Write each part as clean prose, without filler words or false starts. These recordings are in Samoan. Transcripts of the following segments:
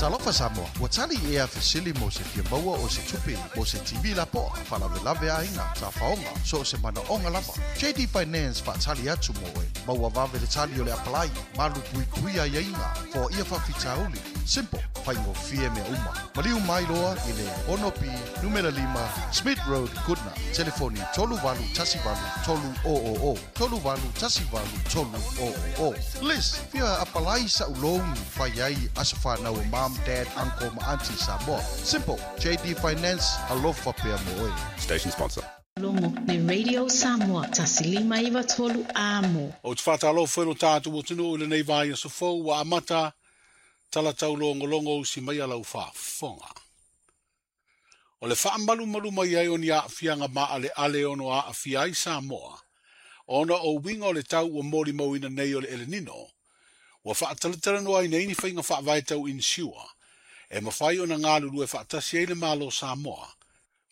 Talofa Samoa, ua tali ea fesili mo se fia maua o se tupe mo se TV lapoa, faalavelave aiga, tafaoga, so o se manaoga lava. JD Finance faatali atu mo oe. Maua vave le tali o le apalai, malu puipui aiaiga, foaia faafitauli. Simple, faigofie mea uma. Maliu mai loa i le 6B numera 5 Smith Road, Goodna. Telefoni 3818 300 3818 300. Liz, fia apalai sa'u loan fai ai aso fanau o mom, dad, uncle ma auntie Samoa. Simple, JD Finance, alofa pea mo oe. Station sponsor. Logo le Radio Samoa 1593 Amo. Ou te faatalofa i lo tatou atunuu i lenei vaiaso fou ua amata tala taulogologo usi mai a lau faafofoga. O le faamalumalu mai ai o ni aafiaga maaleale e ono aafia ai Samoa, ona o uiga o le tau ua molimauina nei o le El Nino, ua faatalatalanoaina ai ni faiga faavae tau insure e mafai ona galulue faatasi ai le Malo o Samoa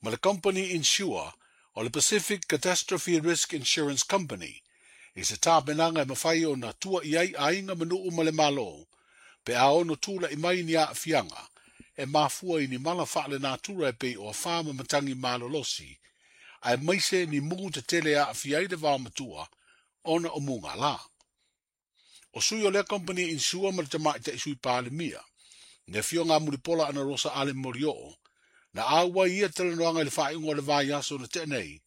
ma le Company Insure o le Pacific Catastrophe Risk Insurance Company i se tapenaga e mafai ona tua i ai aiga ma nuu ma le Malo pe a ono tula'i mai ni aafiaga e mafua i ni mala faalenatura e pei o afa ma matagi malolosi, aemaise ni mugu tetele e aafia ai le vaomatua ona o mugala. O sui o lea company insure ma le Tamaitai Sui Palemia, le Afioga a Mulipola Anarosa Ale Molioo, na auai i ia talanoaga i le faaiuga o le vaiaso na tea nei,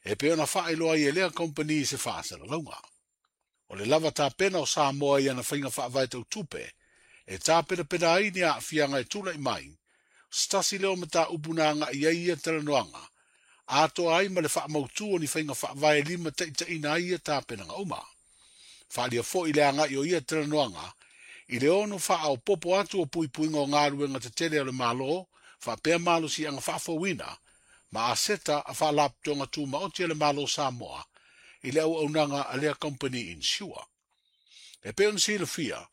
e pei ona faailoa ai e lea company i se faasalalauga. O le lava tapena o Samoa i ana faiga faavae tau tupe e tapenapena ai ni aafiaga e tula'i mai, o se tasi lea o mataupu na aga'i ai ia talanoaga, atoa ai ma le faamautu o ni faiga faavae e limataitaiina ai ia tapenaga uma. Faaalia foi le aga'i o ia talanoaga i le ono faaopoopo atu o puipuiga o galuega tetele a le Malo faapea malosiaga faafouina ma aseta a Faalapotopotoga Tumaoti a le Malo o Samoa i le auaunaga a lea company insure. E pei ona silafia,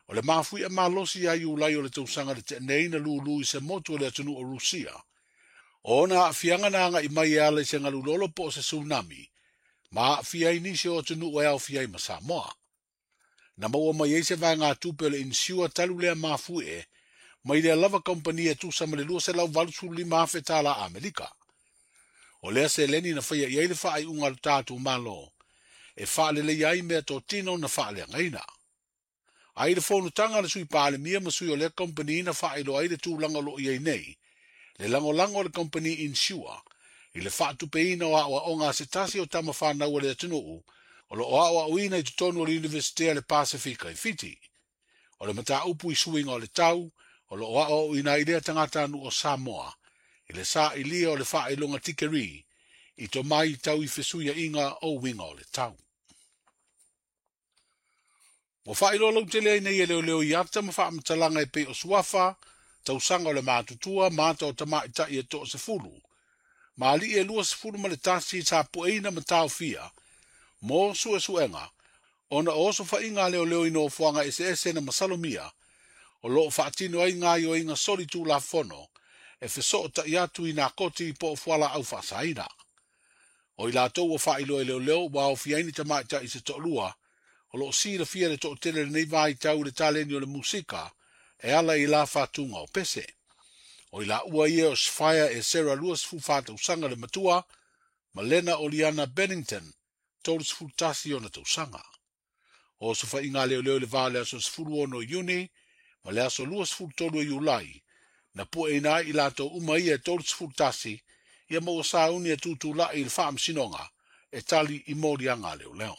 o le mafui'a malosi ia Iulai o le tausaga na tea nei na lūlū i se motu o le atunuu o Rusia. O ona aafiaga na aga'i mai e ala i se galu lolo po o se tsunami, ma aafia ai nisi o atunuu e aofia ai ma Samoa. Na maua mai ai se vaegatupe o le insure talu lea mafuie mai lea lava kamupani e tusa ma le $285,000 tala Amerika. O lea seleni na faia i ai le faaiuga a lo tatou Malo e faaleleia ai meatotino na faaleagaina. Ai le fonotaga a le Sui Palemia ma sui o lea kamupani na faailoa ai le tulaga o lo o i ai nei le lagolago a le kamupani insure i le faatupeina o aoaoga a se tasi o tama fanau a le atunuu o lo o aoaoina i totonu o le Iunivesite a le Pasefika i Fiti. O le mataupu i suiga o le tau o lo o aoaoina ai lea tagatanuu o Samoa i le sailia o le faailoga tikeri i tomai tau i fesuiaiga o uiga o le tau. Ua faailoa lautele ai nei e leoleo i ata ma faamatalaga e pei o suafa, tausaga o le matutua ma ata o tamaitai e 10, ma alii e 21 tapueina ma taofia mo suesuega ona o osofaiga a leoleo i nofoaga eseese na masalomia o lo o faatino ai gaoioiga solitulafono e fesoota'i atu i nā koti po o fualaau faasaina. O i latou ua faailoa e leoleo ua aofia ai ni tamaitai se toalua o lo o silafia le toatele i lenei vaitau i le taleni o le musika e ala i la faatuga o pese. O i laua ia o Sfire e Sarah 24 tausaga le matua ma Lena Oliana Bennington 31 ona tausaga. O osofaiga a leoleo i le va o le aso 16 Iuni ma le aso 23 o Iulai, na pueina ai i latou uma ia e 31 ia ma ua sauni e tutula'i i le faamasinoga e tali i moliaga a leoleo.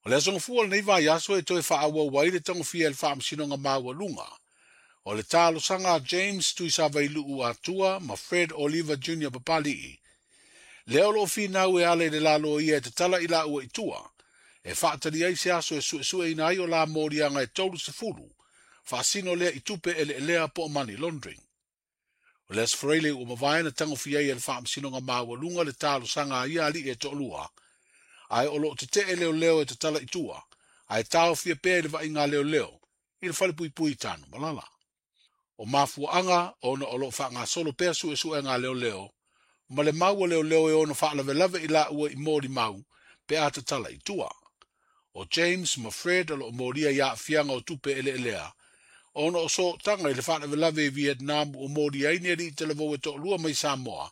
O le aso Gafua o lenei vaiaso e toe faaauau ai le tagofia e le Faamasinoga Maualuga o le talosaga a James Tuisavailuu Atua ma Fred Oliver Jr Papali'i, lea o lo o finau e ala i le lalo ia e tatala i laua i tua, e faatali ai se aso e suesueina ai o la moliaga e 30, faasino lea i tupe eleelea po o money laundering. O le Aso Faraile ua mavae na tagofia ai e le Faamasinoga Maualuga le talosaga a ia alii e toalua, ae o lo o tetee leoleo e tatala i tua, ae taofia pea i le vaaiga a leoleo i le falepuipui i Tanumalala. O mafuaaga ona o lo o faagasolo pea suesuega a leoleo ma le mau a leoleo e ono faalavelave i laua i molimau pe a tatala i tua. O James ma Fred o lo o molia i aafiaga o tupe eleelea Ona o sootaga i le faalavelave i Vietnam ua molia ai ni alii talavou e toalua mai Samoa,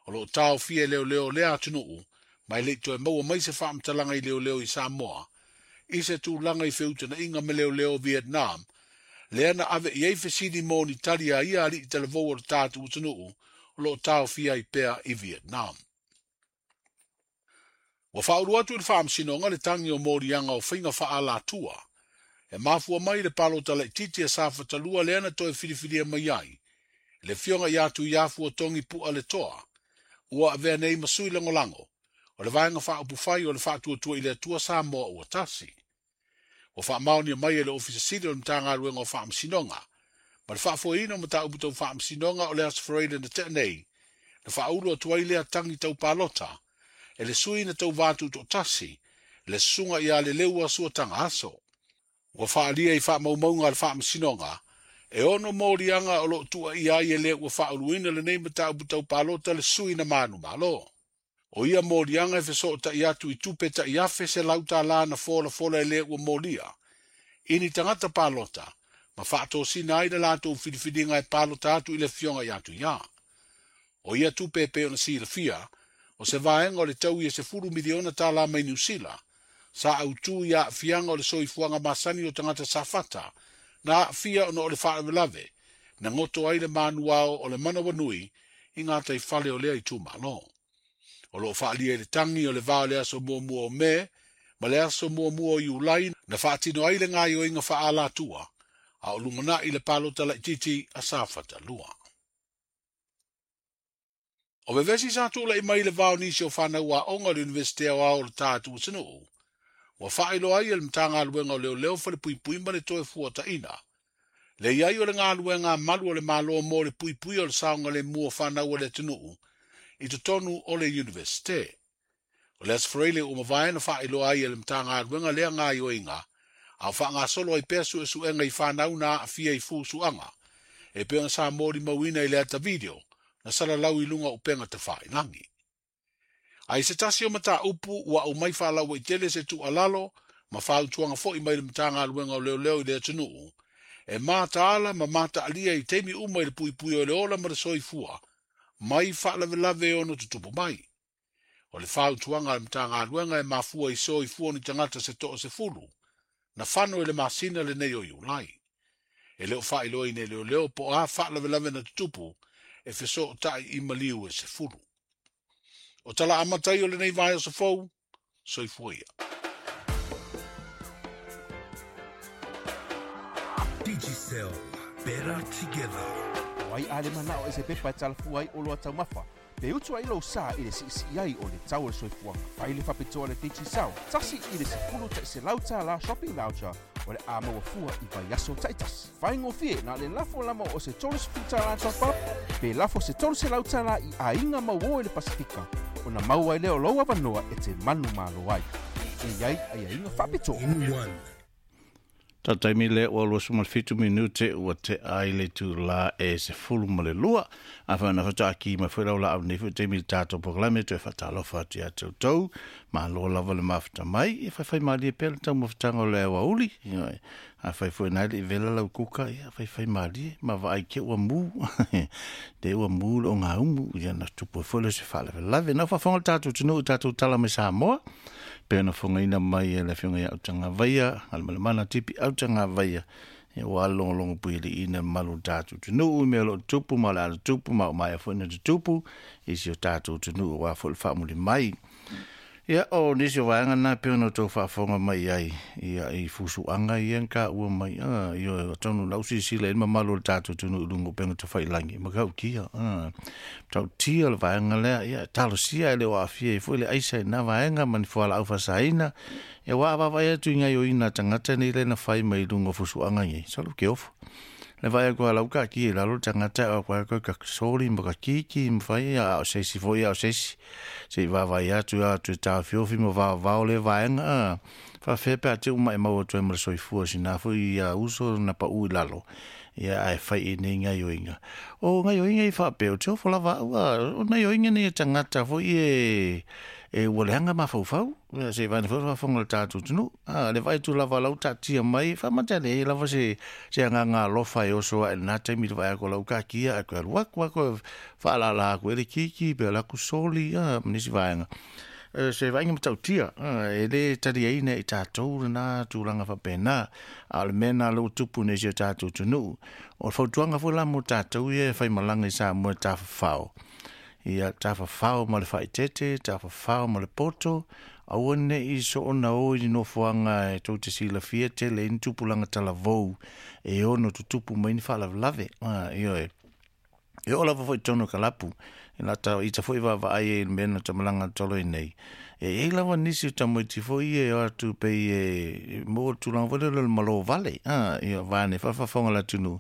o lo o taofia e leoleo o lea atunuu, ma e le i toe maua mai se faamatalaga i leoleo i Samoa, i se tulaga i feutagaiga ma leoleo o Vietnam, lea na ave i ai fesili mo ni tali a ia alii talavou o le tatou atunuu o lo o taofia ai pea i Vietnam. Ua faaulu atu i le Faamasinoga le tagi o moliaga o faiga faaalatua e mafua mai i le palota laitiiti a Safata 2 lea na toe filifilia mai ai le Afioga ia Tuiafu Togi Pu'a Letoa, ua avea nei ma sui lagolago o le Vaega Faaupufai o le Faatuatua i le Atua Samoa ua Tasi. Ua faamaonia mai e le Ofisa Sili o le Matagaluega o Faamasinoga ma le faafoeina o mataupu tau faamasinoga o le Aso Faraile na tea nei, na faaulu atu ai lea tagi tau palota e le sui na tauva tutoatasi, le susuga ia Leleua Suataga Aso. Ua faaalia i faamaumauga a le Faamasinoga, e 6 moliaga o lo o tuuaia ai e le ua faauluina lenei mataupu tau palota le sui na manumalo. O ia moliaga e fesootai atu i tupe tai $1,100 na folafola e le ua molia, i ni tagata palota, ma faatosina ai le latou filifiliga e palota atu i le afioga ia Tuia. O ia tupe e pei ona silafia, o se vaega o le tau e $10 miliona mai Niu Sila, sa autū i aafiaga o le soifuaga masani o tagata safata, na aafia ona o le faalavelave, na goto ai le manuao o le manawanui i ngā taifale o lea itumalo. O lo o faalia i le tagi o le va o le aso muamua o Me ma le aso muamua o Iulai na faatino ai le gaoioiga faaalatua, a o lumanai le palota laitiiti a Safata 2. O vevesi sa tula'i mai le va o nisi o fanau aoga o le Universite Aoao o le tatou atunuu, ua faailoa ai e le Matagaluega o Leoleo Falepuipui ma le toe fuataina. Le iai o le galuega a malu o le Malo mo le puipui o le saogalemu o fanau o le atunuu i totonu o le Universite. O le Aso Faraile ua mavae na faailoa ai e le Matagaluega lea gaoioiga, a o faagasolo ai pea suesuega i fanau na aafia i fusuaga, e pei ona sa molimauina i le ata video na salalau i luga o upega tafailagi. Ai se tasi o mataupu ua aumai faalauaitele se tuualalo ma fautuaga foi mai le Matagaluega o Leoleo i le atunuu, e mataala ma mataalia i taimi uma i le puipui o le ola ma le soifua, mai faalavelave e ono tutupu mai. O le fautuaga a le Matagaluega e mafua i soifua ni tagata se 10, na fano i le masina lenei o Iulai. E le o faailoaina e leoleo po o a faalavelave na tutupu e fesootai i maliu e 10. O tala amatai o lenei vaiaso fou, soifua ia. Digicel, better together. O ai a le manao e se pepa e talafua ai o loa taumafa, pe utu ai lou sa i le siisii ai o le tau o le soifuaga. Fai le faapitoa le Digicel, 1 i le $10 shopping voucher o le a maua fua i vaiaso taitasi. Faigofie na le lafo lama o se $30 top up, pe lafo se $300 i aiga mauō i le Pasifika, ona maua ai lea o lou avanoa e te manumalo ai. E iai aiaiga faapitoa. In one. Tataimi le ua 27 minute ua te ai le tū la e 12. A whaana whataaki mai whairau la au nei wha taimi le tātou programme toe whatalofa atu ia tau. Ma lo lava le mawhata mai e whaiwhai malie pea le tau mawhatanga o le awa uli. A whaiwhai nai le i vela lau kuka ia whaiwhai malie ma wa ai ke ua mū. Te ua mū le o ngā umu ia na tupu e whaile se whalawelave. Lave. Na whawhanga le tātou tunu tātou tala me Samoa. Pe na whangaina mai e le whionga ia autanga vaia, alamalamana tipi autanga vaia, e wa longo pui le ina malu tātou tunu, me lo tupu, ma le ala tupu, ma o mai a whaina te tupu, i si o tātou tunu wa fo le whaamuli mai. Ia o nisi o vaanga nā pe ona tau whaafonga mai ai, ia i fusuanga ia ka ua mai, ia o tonu lau sisila e mamalu o le tātou tunu ulungu penga te whailangi, ma kau kia, tau tia le vaanga lea, ia talosia e le o afia i fo le aisa i nā vaanga mani fuala au fasaina, ia wā wawai atu i ngai o ina tangata nei le na whai mai lunga fusuanga ngai, salu ke ofo. Le vai koa lau ka ki lalo tangata o koa ka sori ma ka kiki ma whai a o seisi foi a o seisi. Se i wawai atu atu tā fiofi ma wawau le vaenga. Wha whepe a te uma e mau atu e mara soifua sina foi ia uso na pa ui lalo. Ia ai whai i nei ngai oinga. O ngai oinga i whapeo te ofo lava ua. O ngai oinga nei tangata foi e e ua leaga mafaufau, se i vaai foi le faafofoga a le tatou atunuu. A, le vaai atu lava o la ua taatia mai, faamata e leai lava se, se agaga alofa e oso ae i lena taimi i le vaai atu o la ua taatia ae toe alu atu lava toe faalala atu ai le kiki pe o le atu soli, a, ma nisi vaega. Se vaaiga matautia, e le taliaina e i tatou lena tulaga faapena. A o le mea lena o lea ua tupu nei i si o tatou atunuu. O le fautuaga foi la mo tatou ia e faimalaga i Samoa e tafafao, ia tafafao ma le faaeteete, tafafao ma le poto, aua ne i soona o i ni nofoaga e tou te silafia tele ai ni tupulaga talavou e ono tutupu mai ni faalavelave. Ioe. E oo lava foi i totonu o kalapu, i lata ita foi vaavaai ai i le mea na tamalaga tolo ai nei. E i ai lava nisi o tamaiti foi ia e o atu pei e maua le tulaga foi lele o le malo vale, ia vaeane faafafoga le atunuu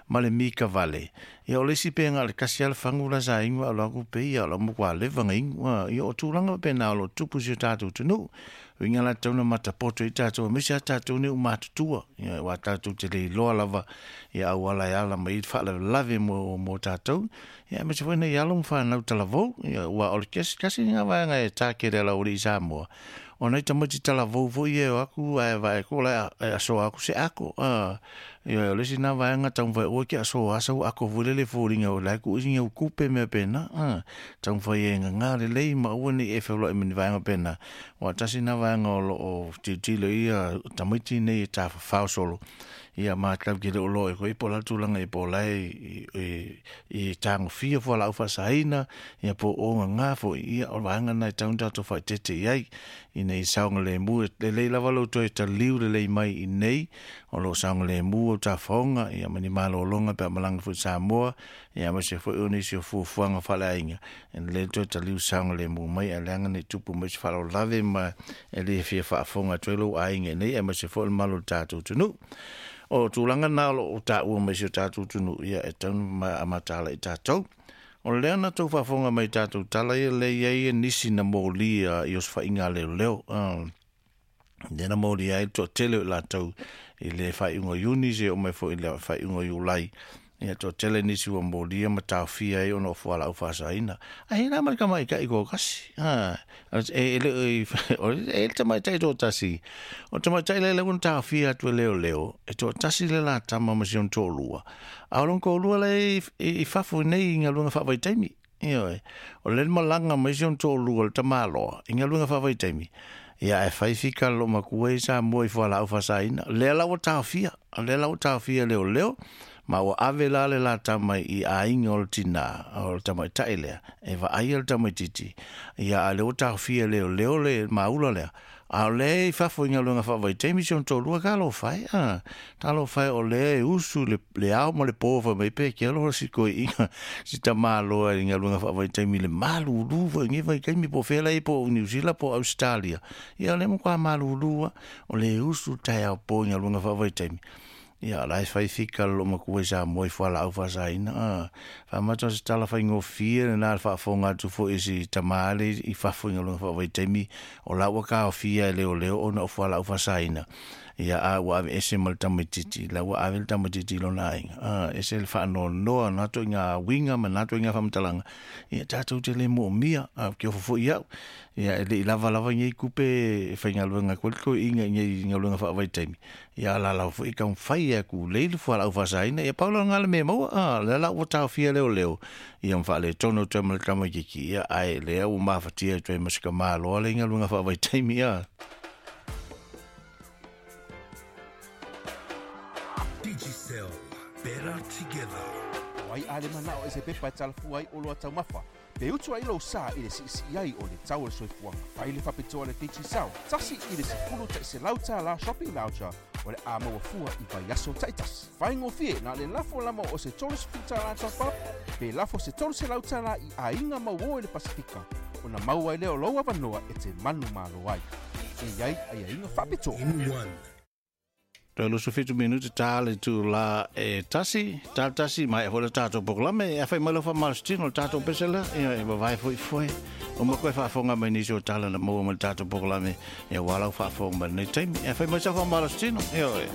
ma le mika vale. Ia o le isi pe na o le tasi lava le fagu la sa inu ae o lo atu pei ia o la matua leva ona inu, ia o tulaga faapena o lo o tupu i si o tatou atunuu. Uiga la tatau ona matapoto ai tatou aemaise lava tatou nei ua matutua, ia aua tatou te le iloa lava ia auala e ala mai ai le faalavelave mo tatou, ia aemaise foi nai alo ma fanau talavou, ia aua o le tasi lena vaega e takele a le aualii Samoa, o nai tamaiti talavou foi ia e o atu ae vaai atu o la e asoa atu se ako, ioe, o le isi lena vaega taumafai aua e te asoa sau ako foi lele e foliga o la e tuu isi au tupe mea pena, taumafai e gaga lelei ma aua ne i e feoloai ma ni vaega pena, aua tasi lena vaega o lo o tilotilo i ai ia tamaiti nei e tafafao solo, ia ma tatou te le o iloa foi po o le a le tulaga i po o la e i tagofia fualaau faasaina, ia po o gaga foi, ia o le vaega lena e tatau ona tatou faaeteete i ai, ina ia saogalemu. E lelei lava lou toe taliu lelei mai i inei, o lo o saogalemu au tafaoga, ia ma ni malologa pe a malaga foi i Samoa, ia aemaise foi o nisi o fuafuaga faaleaiga, e lelei le toe taliu saogalemu mai, ae leaga ne i tupu mai se faalavelave ma e le fia faafofoga atu ai lou aiga i inei, aemaise foi o le mamalu o le tatou atunuu. O tulaga na o lo o taua mai i si o tatou atunuu, ia e tatau ona mataala i tatou. O lea na tou faafofoga mai i tatou tala ia lea e i ai nisi na molia i osofaiga a leoleo. Lea na molia ai le toatele o i latou i le faaiuga o Iuni seia oo mai foi i le faaiuga o Iulai. Ia toatele nisi ua molia ma taofia ai ona o fualaau faasaina. Ae la ma le tamaitai toatasi. E le o i, e le tamaitai toatasi. O le tamaitai lea lea ua na taofia atu e leoleo, e toatasi le la tama ma si ona toalua. A o lona toalua la e i fafo nei i galuega faavaitaimi. Ioe. O le malaga mai si ona toalua le tamaloa i galuega faavaitaimi. Ia ae fai fika le loomatua i Samoa i fualaau faasaina. Lea la ua taofia, lea la ua taofia e leoleo, ma ua ave la le la tama i aiga o le tinā, o le tamaitai lea, e vaaia le tamaitiiti. Ia a o lea ua taofia e leoleo le maula lea, A o lea i fafo i galuega faavaitaimi si ona toalua talofa e, a, talofa e o lea e usu le, le ao ma le po fai mai pe ke aloha si koeina si tamaloa i galuega faavaitaimi i le malulu foi i lenei vaitaimi po o fea la e i ai po o Niu Sila po o Ausetalia. Ia o lea matua malulu lava, o lea e usu le taeao po i galuega faavaitaimi. Ia, o la e fai fika le loomatua i Samoa i fualaau faasaina. A, faamata o se tala faigofie lena le faafofoga atu foi i si tama lea i fafo i galuega faavaitaimi, o la ua taofia e leoleo ona o fualaau faasaina. Ia, a ua aveese ma le tamaitiiti, la ua ave le tamaitiiti i lona aiga. A, ese le faanoanoa o na ituaiga uiga ma na ituaiga faamatalaga, ia tatou te le moomia. A, ou te ofo foi au, ia e le i lava lava nei tupe e faigaluega atu ai le toeaina i nei galuega faavaitaimi. Ia lalau foi taumafai e tulei le fualaau faasaina. Ia pau la lena le mea e maua, a, lea la ua taofia leoleo, ia ma faaletonu atu ai ma le tamaitiiti, ia, ae lea ua mafatia atu ai ma si tamaloa lea i galuega faavaitaimi, a. Digicel, better together. O ai a le manao e se pepa e talafua ai oloa taumafa, Pe utu ai lou sa i le siisii ai o le tau o le soifuaga, fai le faapitoa le Digicel, $1 $100 shopping voucher o le a maua fua i vaiaso taitasi. Faigofie na o le lafo lama o se $30 top up pe lafo se $300 i aiga mauō i le Pasefika ona maua ai lea o lou avanoa e te manumalo ai. E i ai aiaiga faapitoa. In one. Toe 27 minute ta le itulā e tasi, ta le tasi, maea foi le tatou polokalame. E awhai mai lau whamalositino le tatou pese lea, ia e vavae foi foe. O mo koe faafofoga mai nisi o tala na maua mai le tatou polokalame, ia ua lau faafofoga mai lenei taimi. E awhai mai sau whamalositino, ia oe.